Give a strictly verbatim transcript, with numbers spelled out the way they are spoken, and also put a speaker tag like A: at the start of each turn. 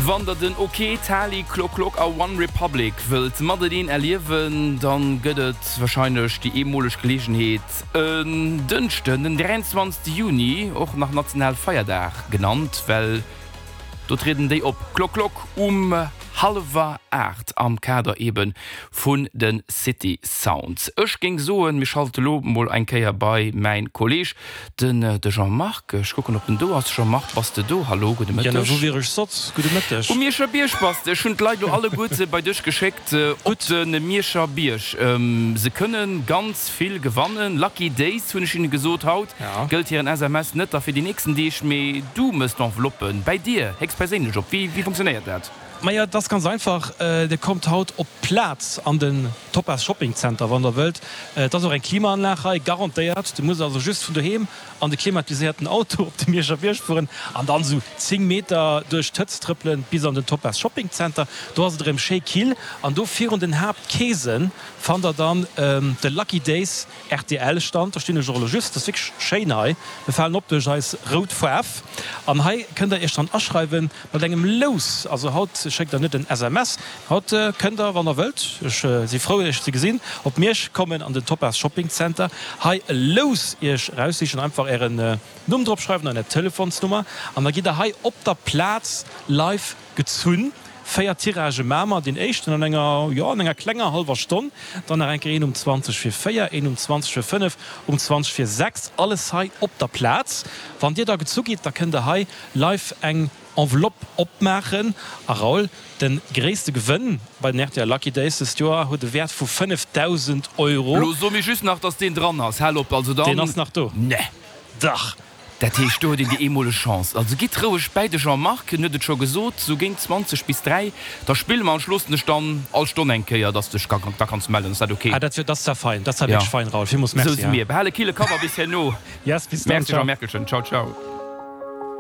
A: Wann der den Ok, Tali, Clock Clock a One Republic wëllt mateneen erliewen, dann gëtt et warscheinlech déi eemoleg Geleegenheet en Dënschden, den dräianzwanzegste Juni, och nach Nationalfeierdag genannt, well do trieden déi op, Clock Clock, um hallwer aacht am Kader eben vun de City Sounds. Ech géing soen, mir schalte lo mol eng Kéier bei mäin Kolleg, den de Jean-Marc. Ech kucken, ob en do ass. Jean-Marc, bass de do? Hallo, gudde
B: Ja,
A: Mëtteg.
B: wou wier ech soss? Gudde Mëtteg.
A: Um Mierscher Bierg bass de. Ech hunn d'Leit lo alleguerte bei dech geschéckt op de Mierscher Bierg. Se kënne ganz vill gewannen. Lucky Days hunn ech hinne gesot. Haut
B: Ja.
A: gëllt hiren S M S net da fir déi nächsten Deeg, mee du mëss d'Enveloppen bäi dir héchstperséinlech op. Wéi, wéi funktionéiert dat?
B: Maja, et ass ganz einfach, Dir kommt haut op d'Plaz an den Topaz Shopping Center, wann Der wëllt. Et ass och eng Klimaanlag hei, garantéiert. Dir musst also just vun doheem an de klimatiséierten Auto op de Mierscher Bierg fueren an dann esou zéng Meter duerch d'Hëtzt trëppelen bis an den Topaz Shopping Center. Do ass et erëm schéi kill an do virun den Haaptkeesen fannt Der dann de Lucky Days R T L Stand. Do stinn ech och elo just. Et ass wierklech schéin hei. Mir falen op duerch eis rout Faarf. An hei kënnt Der Iech dann aschreiwen mat engem Lous. Also haut schéckt Der net en S M S. Haut kënnt Der, wann Der wëllt, ech si frou Iech ze gesinn, op Miersch kommen an den Topaz Shopping Center, hei e Lous Iech eraussichen, einfach Ären Numm drop schreiwen an Är Telefonsnummer an da gitt Der hei op der Plaz live gezunn. Véier Tiragë maache mer, deen éischten an enger, jo, an enger klenger hallwer Stonn, dann nach eng Kéier een um zwanzeg vir véier, een um zwanzeg vir fënnef, um zwanzeg vir sechs, alles hei op der Plaz. Wann Dir da gezu gitt, da kënnt Der hei live eng Enveloppe opmaachen. A Raoul, de gréisste Gewënn bei den R T L Lucky Days dëst Joer huet e Wäert vu fënnefdausend Euro.
A: Lo so mir just nach, dass deen dran ass. Hal op, also
B: Deen
A: dann.
B: Ass nach do.
A: Ne.
B: Dach.
A: Dat heescht, do huet een déi eemoleg Chance. Also gitt roueg bäi de Jean-Marc, hien huet et scho gesot, sou géint zwanzeg bis dräi, da spille mer an ech loossen dech dann all Stonn eng Kéier, dass de dech da kanns mellen. Ass dat ok?
B: Ah, dat wier, dat ass zwar fein, dat ass zwar
A: Ja.
B: wierklech fein, Raoul. Villmools
A: Sou
B: Merci,
A: si
B: hein.
A: mir. Behal e kille Kapp a bis herno.
B: Yes, bis dann,
A: Merci
B: ciao.
A: Jean-Merkelchen. Ciao, ciao.